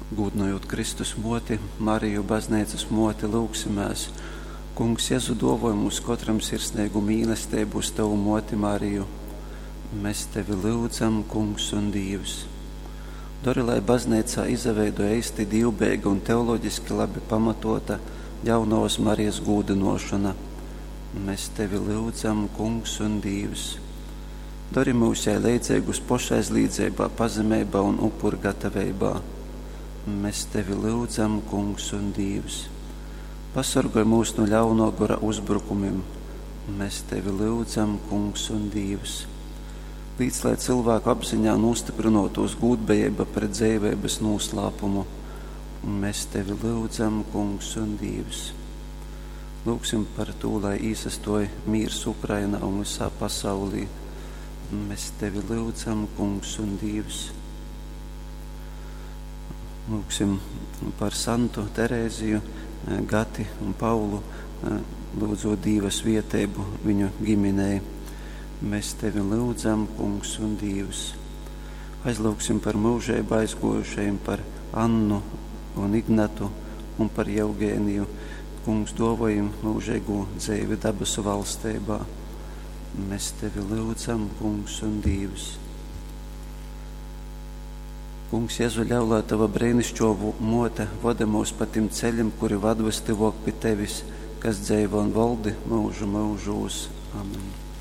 Gūdynojūt Kristus muoti, Mariju, Bazneicys muoti, lyugsimēs. Kungs Jezu, duovoj mums kotram sirsneigu mīlesteibu uz Tovu muoti Mariju. Mes Tevi lyudzam, Kungs un Dīvs. Dori, lai Bazneicā izaveidoj eisti dīvbejeiga un teologiski labi pamatota Jaunovas Marijas gūdynuošona. Mes Tevi lyudzam, Kungs un Dīvs. Dori myus jai leidzeigus pošaizlīdzeibā, pazemeibā un upurgataveibā. Mes Tevi lyudzam, Kungs un Dīvs. Pasorgoj myus nu ļaunuo gora uzbrukumim. Mes Tevi lyudzam, Kungs un Dīvs. Līc, lai cylvāku apziņā nūstyprynuotūs gūdbejeiba pret dzeiveibys nūslāpumu. Mes Tevi lyudzam, Kungs un Dīvs. Lyugsim par tū, lai īsastuoj mīrs Ukrainā un vysā pasaulī. Mes Tevi lyudzam, Kungs un Dīvs. Lūgsim par Santu, Terēziju, Gati un Paulu, lyudzot Dīva svieteibu viņu giminei. Mēs Tevi lyudzam, Kungs un Dīvs. Aizlūgsim par myužeibu aizguojušajim, par Annu un Ignatu un par Jeugēniju. Kungs, duovoj jim myužeigū dzeivi dabasu valsteibā. Mēs Tevi lyudzam, Kungs un Dīvs. Kungs, Jezu, ļauj, lai Tova breinišķo muote voda mūs pa tim ceļim, kuri vad vystyvuok pi Tevis, kas dzeivo un voldi myužu myužūs. Amen.